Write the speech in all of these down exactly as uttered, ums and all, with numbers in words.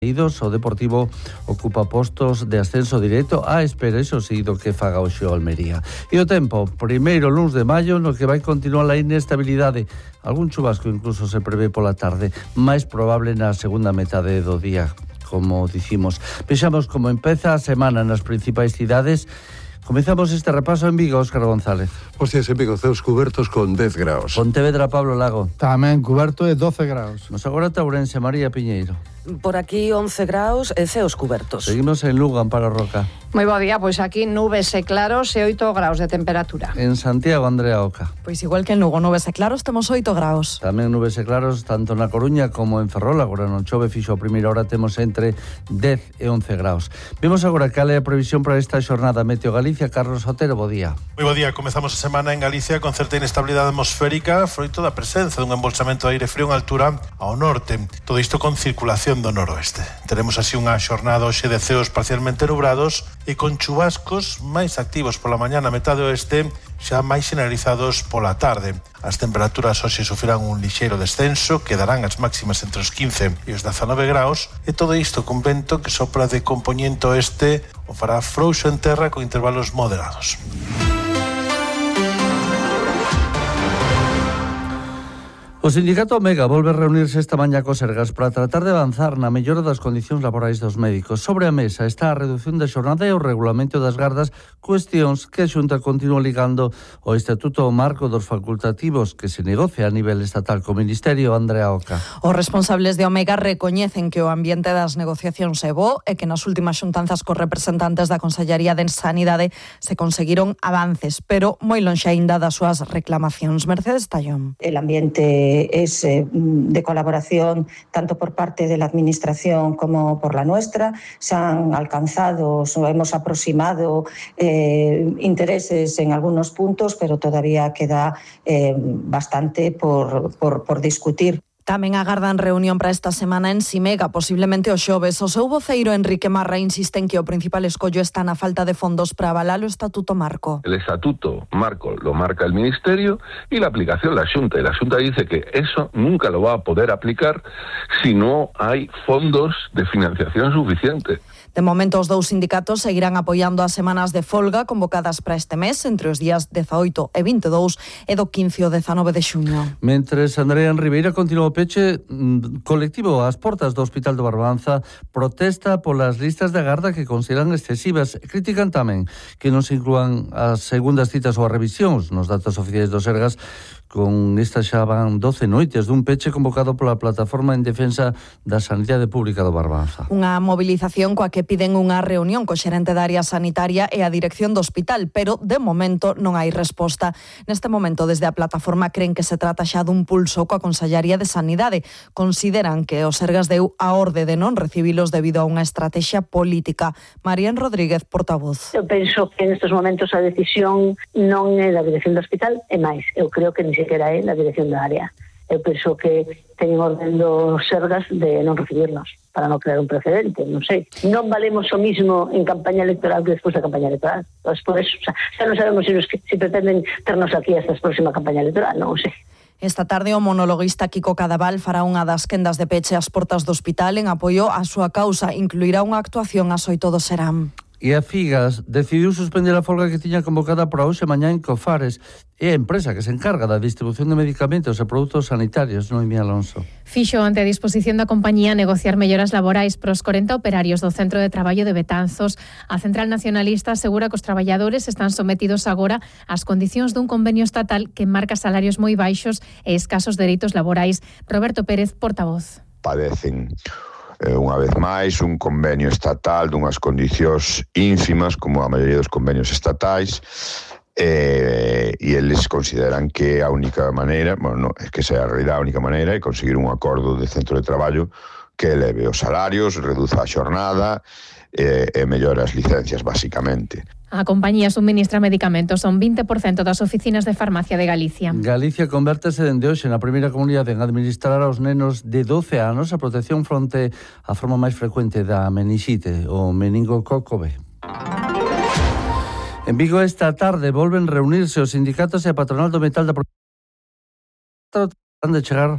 O Deportivo ocupa postos de ascenso directo á espera, iso sí, do que faga hoxe o Almería. E o tempo, primeiro luns de maio, no que vai continuar a inestabilidade. Algún chubasco incluso se prevé pola tarde, máis probable na segunda metade do día, como dicimos. Vexamos como empeza a semana nas principais cidades. Comezamos este repaso en Vigo, Óscar González. Hostias, en Vigo, ceos cubertos con dez graus. Pontevedra, Pablo Lago. Tamén cuberto de doce graus. Nos agora Ourense, María Piñeiro. Por aquí once graus e ceos cubertos. Seguimos en Lugo, Amparo Roca. Moi bo día, pois aquí nubes e claros e oito graus de temperatura. En Santiago, Andrea Oca. Pois igual que en Lugo, nubes e claros, temos oito graus. Tamén nubes e claros, tanto na Coruña como en Ferrol. Agora non chove, fixo a primeira hora, temos entre dez e once graus. Vemos agora cal é a previsión para esta xornada. Meteo Galicia, Carlos Otero, bo día. Moi bo día, comezamos a semana en Galicia con certa inestabilidade atmosférica, froito da presenza dun embolsamento de aire frío en altura ao norte. Todo isto con circulación do noroeste. Teremos así unha xornada hoxe de ceos parcialmente nubrados e con chubascos máis activos pola mañá na metade oeste, xa máis generalizados pola tarde. As temperaturas hoxe sufrirán un lixeiro descenso, quedarán as máximas entre os quince e os dezanove graus, e todo isto con vento que sopra de compoñente oeste o fará frouxo en terra con intervalos moderados. O sindicato Omega volve a reunirse esta mañá co Sergas para tratar de avanzar na mellora das condicións laborais dos médicos. Sobre a mesa está a redución da xornada e o regulamento das gardas, cuestións que a Xunta continúa ligando ao Estatuto Marco dos Facultativos, que se negocia a nivel estatal co Ministerio. Andrea Oca. Os responsables de Omega recoñecen que o ambiente das negociacións é bo e que nas últimas xuntanzas cos representantes da Consellería de Sanidade se conseguiron avances, pero moi lonxe aínda das súas reclamacións. Mercedes Tallón. El ambiente es eh, de colaboración tanto por parte de la Administración como por la nuestra. Se han alcanzado o hemos aproximado eh, intereses en algunos puntos, pero todavía queda eh, bastante por, por, por discutir. Tamén agardan reunión para esta semana en Simega, posiblemente o xoves. O seu voceiro Enrique Marra insiste en que o principal escollo está na falta de fondos para avalar o Estatuto Marco. El Estatuto Marco lo marca el Ministerio y la aplicación la Xunta. Y la Xunta dice que eso nunca lo va a poder aplicar si no hay fondos de financiación suficiente. De momento, os dous sindicatos seguirán apoiando as semanas de folga convocadas para este mes entre os días dezaoito e vinte e dous e do quince ao dezanove de xuño. Mentres Andrea en Ribeira continua o peche colectivo ás portas do Hospital do Barbanza, protesta polas listas de agarda que consideran excesivas. Critican tamén que non se inclúan as segundas citas ou as revisións nos datos oficiais do Sergas. Con estas xa van doce noites dun peche convocado pola Plataforma en Defensa da Sanidade Pública do Barbanza. Unha movilización coa que piden unha reunión co xerente da área sanitaria e a dirección do hospital, pero de momento non hai resposta. Neste momento, desde a plataforma creen que se trata xa dun pulso coa Consellería de Sanidade. Consideran que o Sergas deu a orde de non recibilos debido a unha estrategia política. Marían Rodríguez, portavoz. Eu penso que nestes momentos a decisión non é da dirección do hospital, é máis. Eu creo que ni sequera é na dirección da área. Eu penso que teñen orden dos Sergas de non recibirnos para non crear un precedente, non sei. Non valemos o mismo en campaña electoral que despois da campaña electoral. Entón, por eso, o sea, xa non sabemos se, nos, se pretenden ternos aquí hasta a próxima campaña electoral, non sei. Esta tarde o monologuista Kiko Cadaval fará unha das quendas de peche ás portas do hospital en apoio á súa causa. Incluirá unha actuación ás oito do Serán. E a Figas decidiu suspender a folga que tiña convocada para hoxe mañá en Cofares. É a empresa que se encarga da distribución de medicamentos e produtos sanitarios, Noemí Alonso. Fixo ante a disposición da compañía negociar melloras laborais pros corenta operarios do Centro de Traballo de Betanzos. A Central Nacionalista asegura que os traballadores están sometidos agora ás condicións dun convenio estatal que marca salarios moi baixos e escasos dereitos laborais. Roberto Pérez, portavoz. Padecen unha vez máis un convenio estatal dunhas condicións ínfimas como a maioría dos convenios estatais eh, e eles consideran que a única maneira, bueno, no, é que sea a realidade a única maneira é conseguir un acordo de centro de traballo que eleve os salarios, reduza a xornada e, e mellora as licencias basicamente. A compañía suministra medicamentos, son vinte por cento das oficinas de farmacia de Galicia. Galicia convértese dende hoxe na primeira comunidade en administrar aos nenos de doce anos a protección fronte á forma máis frecuente da menixite, o meningococo B. En Vigo esta tarde volven reunirse os sindicatos e a patronal do metal da provincia de chegar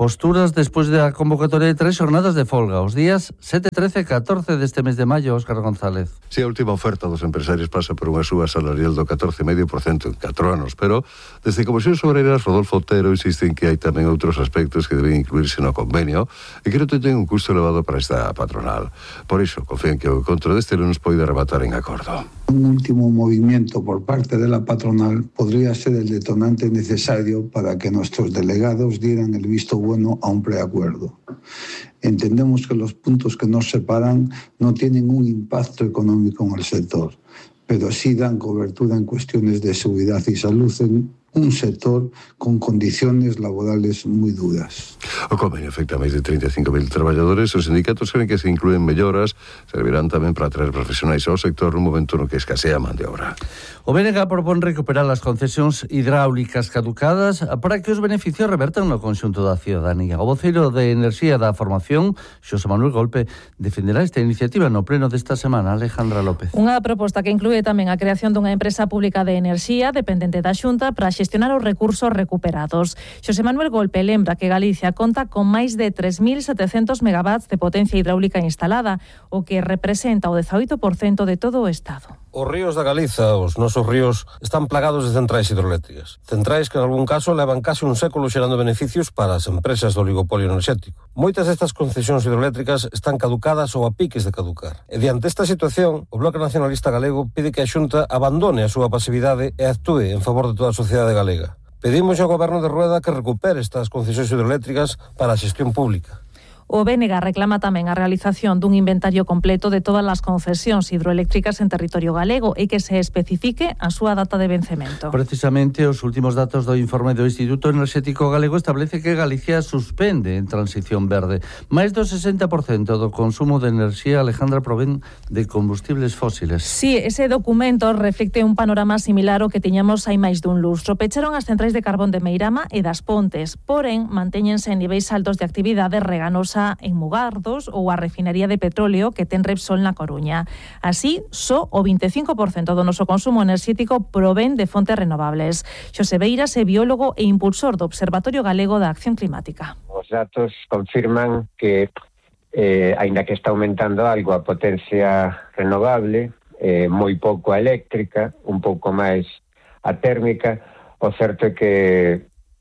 Posturas despois da convocatoria de tres xornadas de folga, os días sete, trece e catorce deste mes de maio, Óscar González. Si, sí, a última oferta dos empresarios pasa por unha suba salarial do catorce vírgula cinco por cento en catro anos, pero desde Comisións Obreiras, Rodolfo Otero insiste en que hai tamén outros aspectos que deben incluirse no convenio e que non ten un custo elevado para esta patronal. Por iso, confían que o encontro deste lunes poida rematar en acordo. Un último movimiento por parte de la patronal podría ser el detonante necesario para que nuestros delegados dieran el visto bueno a un preacuerdo. Entendemos que los puntos que nos separan no tienen un impacto económico en el sector, pero sí dan cobertura en cuestiones de seguridad y salud en un sector con condiciones laborales moi duras. O convenio afecta a máis de trinta e cinco mil traballadores. Os sindicatos creen que se incluen melloras, servirán tamén para atraer profesionais ao sector nun momento no que escasea man de obra. O B N G propón recuperar as concesións hidráulicas caducadas para que os beneficios revertan no conxunto da ciudadanía. O voceiro de Enerxía da Formación, Xosé Manuel Golpe, defenderá esta iniciativa no pleno desta semana. Alejandra López. Unha proposta que inclúe tamén a creación dunha empresa pública de enerxía dependente da Xunta para xestionar os recursos recuperados. Xosé Manuel Golpe lembra que Galicia conta con máis de tres mil setecentos megawatts de potencia hidráulica instalada, o que representa o dezaoito por cento de todo o Estado. Os ríos da Galiza, os nosos ríos, están plagados de centrais hidroeléctricas. Centrais que, en algún caso, levan case un século xerando beneficios para as empresas do oligopolio enerxético. Moitas destas concesións hidroeléctricas están caducadas ou a piques de caducar. E diante esta situación, o Bloque Nacionalista Galego pide que a Xunta abandone a súa pasividade e actúe en favor de toda a sociedade galega. Pedimos ao Goberno de Rueda que recupere estas concesións hidroeléctricas para a xestión pública. O B N G reclama tamén a realización dun inventario completo de todas as concesións hidroeléctricas en territorio galego e que se especifique a súa data de vencemento. Precisamente, os últimos datos do informe do Instituto Enerxético Galego establece que Galicia suspende en transición verde. Máis do sesenta por cento do consumo de enerxía, Alejandra, provén de combustibles fósiles. Sí, ese documento reflecte un panorama similar ao que tiñamos hai máis dun lustro. Pecharon as centrais de carbón de Meirama e das Pontes, porén, mantéñense en niveis altos de actividade reganosa en Mugardos ou a refinería de petróleo que ten Repsol na Coruña. Así, só o vinte e cinco por cento do noso consumo enerxético provén de fontes renovables. Xosé Beiras é biólogo e impulsor do Observatorio Galego da Acción Climática. Os datos confirman que, eh, aínda que está aumentando algo a potencia renovable, eh, moi pouco a eléctrica, un pouco máis a térmica, o certo é que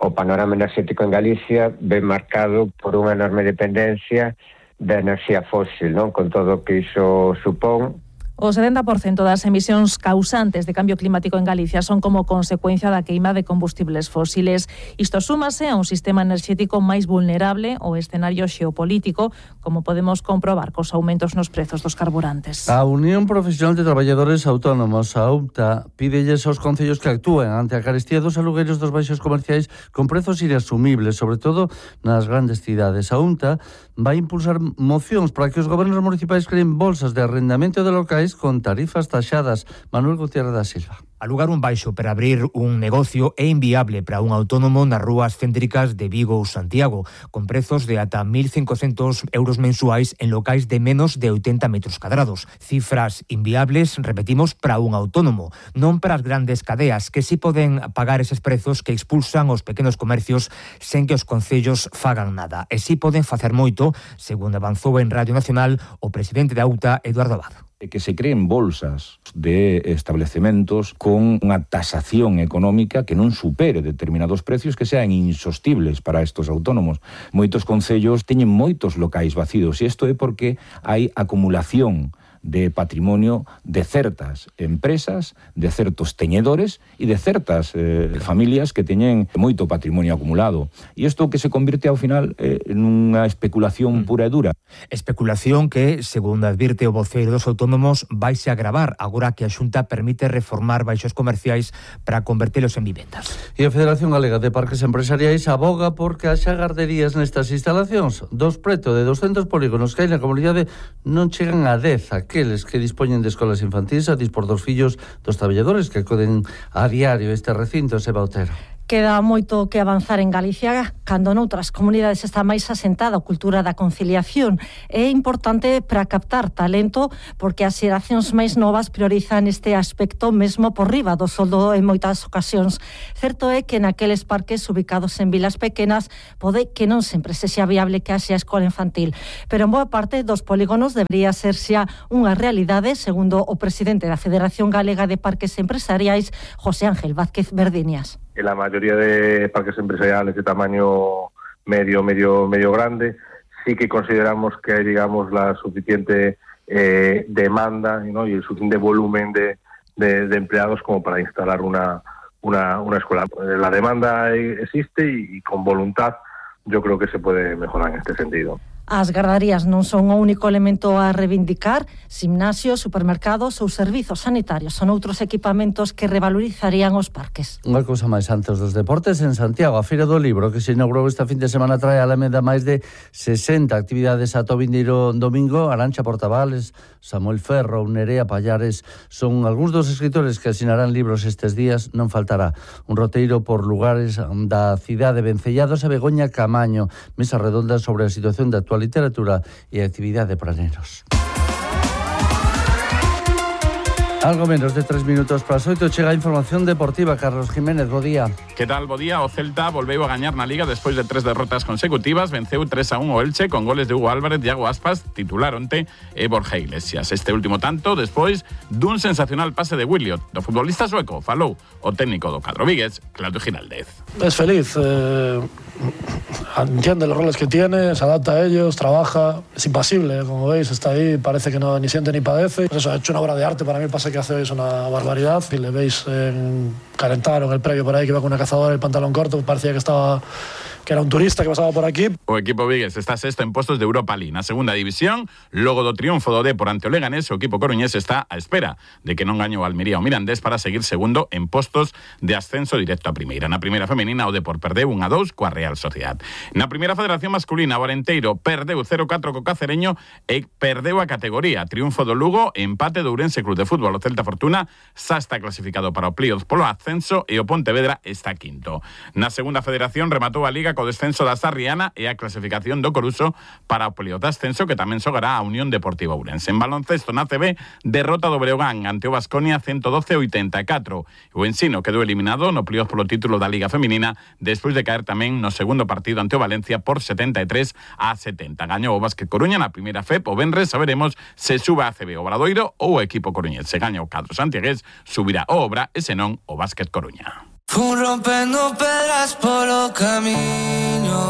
o panorama enerxético en Galicia ven marcado por unha enorme dependencia da enerxía fósil, non? Con todo o que iso supón. O setenta por cento das emisións causantes de cambio climático en Galicia son como consecuencia da queima de combustibles fósiles. Isto súmase a un sistema enerxético máis vulnerable ao escenario xeopolítico, como podemos comprobar cos aumentos nos prezos dos carburantes. A Unión Profesional de Traballadores Autónomos, a U P T A, pídelles aos concellos que actúen ante a carestía dos alugueiros dos baixos comerciais con prezos inasumibles, sobre todo nas grandes cidades. A U N T A vai impulsar mocións para que os gobernos municipais creen bolsas de arrendamento de locais con tarifas taxadas. Manuel Gutiérrez da Silva. Alugar un baixo para abrir un negocio é inviable para un autónomo nas rúas céntricas de Vigo ou Santiago, con prezos de ata mil cincocentos euros mensuais en locais de menos de oitenta metros cadrados. Cifras inviables, repetimos, para un autónomo, non para as grandes cadeas, que si poden pagar eses prezos que expulsan os pequenos comercios sen que os concellos fagan nada. E si poden facer moito, segundo avanzou en Radio Nacional o presidente da U T A, Eduardo Abad. Que se creen bolsas de establecementos con unha tasación económica que non supere determinados precios que sean insostibles para estos autónomos. Moitos concellos teñen moitos locais vacíos e isto é porque hai acumulación de patrimonio de certas empresas, de certos teñedores e de certas eh, familias que teñen moito patrimonio acumulado. E isto que se convirte ao final eh, nunha especulación pura e dura. Especulación que, segundo advirte o voceiro dos autónomos, vaise a agravar agora que a Xunta permite reformar baixos comerciais para convertelos en vivendas. E a Federación Galega de Parques Empresariais aboga porque haxa garderías nestas instalacións. Dos preto de doscentos polígonos que hai na comunidade non chegan a dez aqueles que dispoñen de escolas infantis a dispor dos fillos dos traballadores que acoden a diario este recinto, Seba Otero. Queda moito que avanzar en Galicia cando noutras comunidades está máis asentada a cultura da conciliación. É importante para captar talento porque as xeracións máis novas priorizan este aspecto mesmo por riba do soldo en moitas ocasións. Certo é que naqueles parques ubicados en vilas pequenas pode que non sempre sexa viable que haxa escola infantil, pero en boa parte dos polígonos debería ser xa unha realidade, segundo o presidente da Federación Galega de Parques Empresariais, José Ángel Vázquez Verdiñas. En la mayoría de parques empresariales de tamaño medio, medio, medio grande, sí que consideramos que hay, digamos, la suficiente eh, demanda, ¿no? y el suficiente volumen de, de, de empleados como para instalar una, una, una escuela. La demanda existe y, y con voluntad yo creo que se puede mejorar en este sentido. As gardarías non son o único elemento a reivindicar. Gimnasios, supermercados ou servizos sanitarios son outros equipamentos que revalorizarían os parques. Unha cousa máis antes dos deportes, en Santiago, a Feira do Libro, que se inaugurou esta fin de semana, trae a Alameda máis de sesenta actividades ata o vindeiro domingo. Arantxa Portavales, Samuel Ferro, Nerea Pallares son algúns dos escritores que asinarán libros estes días. Non faltará un roteiro por lugares da cidade, Vencellados e Begoña Camaño, mesa redonda sobre a situación da actual literatura e actividade para nenos. Algo menos de tres minutos para as oito chega a información deportiva. Carlos Jiménez, bo día. Que tal, bo día? O Celta volveu a gañar na Liga despois de tres derrotas consecutivas. Venceu tres a un o Elche con goles de Hugo Álvarez, Iago Aspas, titular onte, e Borja Iglesias. Este último tanto despois dun sensacional pase de Williot. Do futbolista sueco falou o técnico do cadro vigués, Claudio Giraldez. Es feliz, eh, entiende los roles que tiene, se adapta a ellos, trabaja, es impasible, como veis, está ahí, parece que no ni siente ni padece. Pues eso, ha hecho una obra de arte, para mí el pase que hace hoy es una barbaridad. Si le veis en calentar o en el previo por ahí que iba con una cazadora y el pantalón corto, parecía que estaba que era un turista que pasaba por aquí. O equipo vigués está sexto en postos de Europa League na segunda división. Logo do triunfo do Dépor ante o Leganés, o equipo coruñés está á espera de que non gañe o Almería o Mirandés para seguir segundo en postos de ascenso directo a primeira. Na primeira femenina o Dépor perdeu un a dous coa Real Sociedad. Na primeira federación masculina o Arenteiro perdeu cero a catro co Cacereño e perdeu a categoría. Triunfo do Lugo, empate do Ourense Club de Fútbol. O Celta Fortuna xa está clasificado para o playoff polo ascenso e o Pontevedra está quinto. Na segunda federación rematou a Liga co descenso da Sarriana e a clasificación do Coruso para o playoff de ascenso que tamén xogará a Unión Deportiva Ourense. En baloncesto na C B, derrota do Breogán ante o Baskonia ciento doce a oitenta e catro. O Ensino quedou eliminado no playoff polo título da Liga Feminina despois de caer tamén no segundo partido ante o Valencia por setenta e tres a setenta. Gañou o Básquet Coruña na primeira F E P. O venres saberemos se suba a C B o Obradoiro ou o equipo coruñés. Se gaña o cadro santiagués, subirá o Obra e senón o Básquet Coruña. Fun rompendo pedras polo camiño,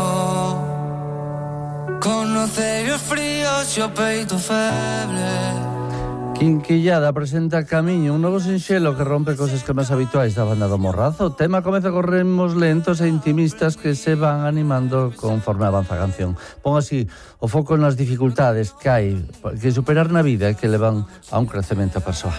con ocellos fríos e o peito febre. Quinquillada presenta Camiño, un novo sinxelo que rompe cos esquemas habituais da banda do Morrazo. O tema comeza con ritmos lentos e intimistas que se van animando conforme avanza a canción. Pon así o foco nas dificultades que hai que superar na vida e que levan a un crecemento persoal.